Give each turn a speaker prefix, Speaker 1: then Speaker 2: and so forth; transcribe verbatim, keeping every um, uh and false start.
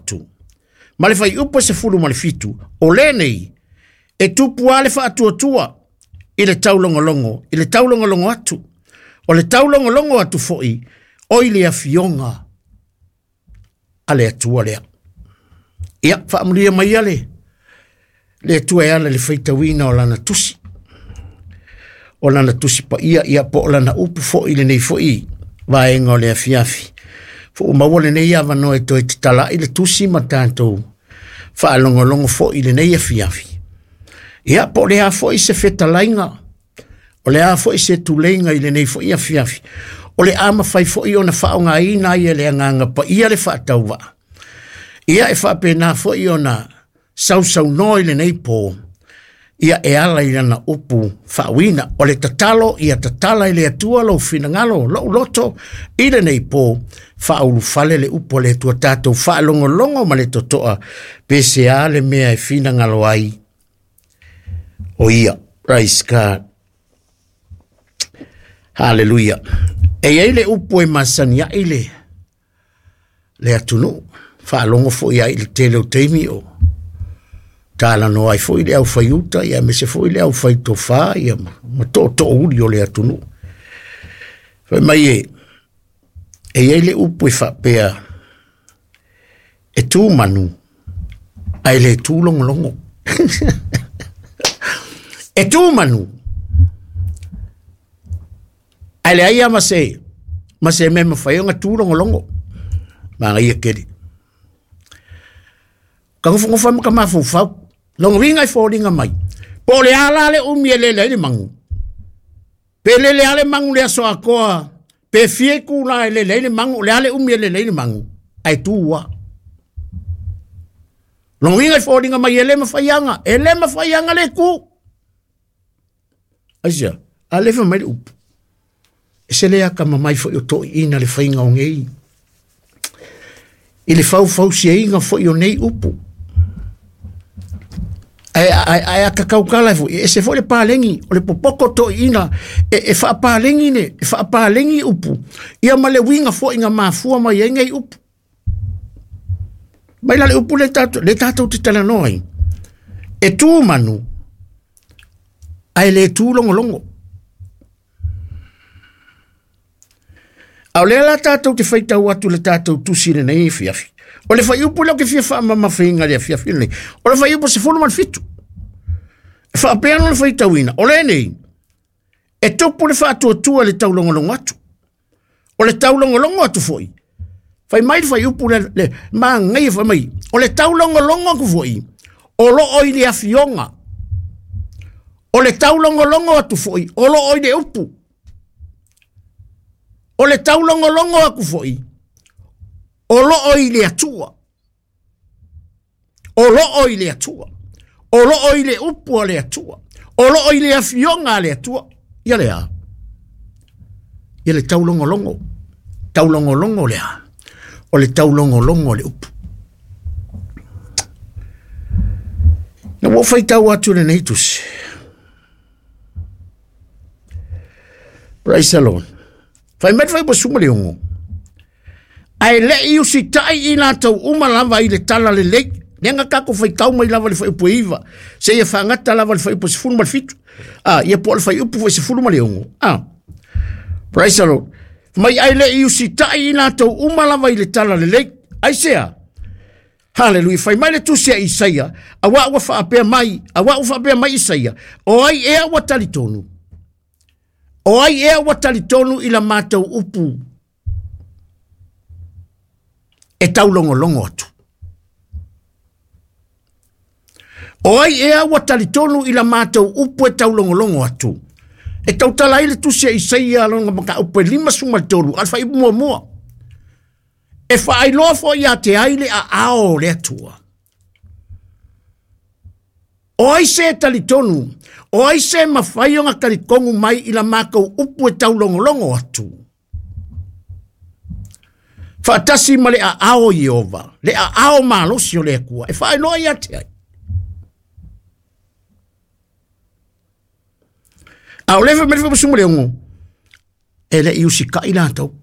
Speaker 1: atu. Ma le fuaiupu e sefulu ma le fitu, o lenei e tupu lava le faatuatua i le taulogologo, i le taulogologo atu. O le taulogologo atu foi, o i le afioga a le Atua lea. Ia, faamanuia mai le le Atua e ala i le faitauina o lana tusi. O lana tusi paia, ia po o lana upu foi lenei foi vaega o le afiafi. Ua maua lenei avanoa e toe tatala'i le tusi ma tatou faalogologo foi i lenei afiafi. Ia, po o le a foi se fetalaiga, o le a foi se tuleiga i lenei foi afiafi, o le a mafai foi ona faaaogaina ai e le Agaga Paia le faatauvaa. Ia, e faapena foi ona sausaunoa i lenei po, ia e ala i lana upu faauina. O le tatalo, ia tatala i le Atua lou finagalo, lou loto i lenei po, faaulufale le upu a le Atua, tatou faalogologo ma le totoa, pe se a le mea e finagalo ai o ia. Praise God. Hallelujah. E i ai le upu e masani ai le, le atunuu, faalogo foi ai i le tele o taimi o talanoa ai foi le aufaiuta, ia aemaise foi le aufaitofa, ia ma, ma tootoouli o le atunuu. Fai mai e, e i ai le upu e faapea, e tu manu, ae le tu logologo. E tu manu, ae leai lava ma se, ma se mea e mafai ona tu logologo. Manaia tele. Ka nofonofo ai ma ka mafaufau. Lona uiga e foliga mai. Po o le a la le umi e lele ai le magu. Pe lele lava le magu i le aso atoa, pe fia itula e lele ai le magu, o le a le umi e lele ai le magu, ae tu lava. Lona uiga e foliga mai e le mafai aga, e le mafai aga le tu. Aisea? A lea e fai mai le upu. E se le akamamai foi o toeaiina le faiga o nei, i le faufausiaina foi o nei upu. Ae, ae, ae a tataukala foi, e ese foi le paleni, o le popoto toeaiina, e, e faapaleni le, e faapaleni upu, ia ma le uiga foi na mafua mai ai nei upu. Mai la le upu le tatou, le tatou te talanoa ai. E tu manu, ae le tu logologo. A o lea la tatou te faitau atu le tatou tusi lenei afiafi. O le fuaiupu lea ou te fia faamamafaina i le afiafi lenei. O le fuaiupu sefulu ma le fitu. E faapea ona faitauina, o lenei, e tupu le faatuatua i le taulogologo atu. O le taulogologo atu foi, fai mai le fuaiupu le, le manaia fai mai, o le taulogologo atu foi, o loo i le afioga. O le taulogologo atu foi, o loo i le upu. O le taulogologo atu foi, o loo i le Atua. O loo i le Atua. O loo i le upu a le Atua. O loo i le afioga a le Atua. Ia lea. Ia le taulogologo. Taulogologo lea. O le taulogologo o le upu. Na ua faitau atu lenei tusi. Praise the Lord. Fai mai le fuaiupu sefulu ma le ono. Ae le i usitai i latou uma lava i le tala lelei. Lea na tatou faitau mai lava le fuaiupu e iva. Seia faagata lava le fuaiupu sefulu ma le fitu. Ah, ia po o le fuaiupu foi sefulu ma le ono. Ah. Praise the Lord. Mai ae le i usitai i latou uma lava i le tala lelei. Aisea? Hallelujah. Fai mai le tusi a Isaia, auā ua faapea mai, auā ua faapea mai Isaia, o ai ea ua talitonu? O ai ea ua talitonu i la matou upu e taulogologo atu? O ai ea ua talitonu i la matou upu e taulogologo atu? E tautala ai le tusi a Isaia lona mataupu e limasefulu ma le tolu, a le fuaiupu muamua. E faailoa foi ia te ai le aao o le Atua. O ai se talitonu, o ai se mafai ona talitonu mai i la matou upu e taulogologo atu. Faatasi ma le aao o Ieova, le aao malosi o le Atua, e faailoa ia te ai. A o le fai mai le fuaiupu sefulu ma le ono, e le i usitai latou.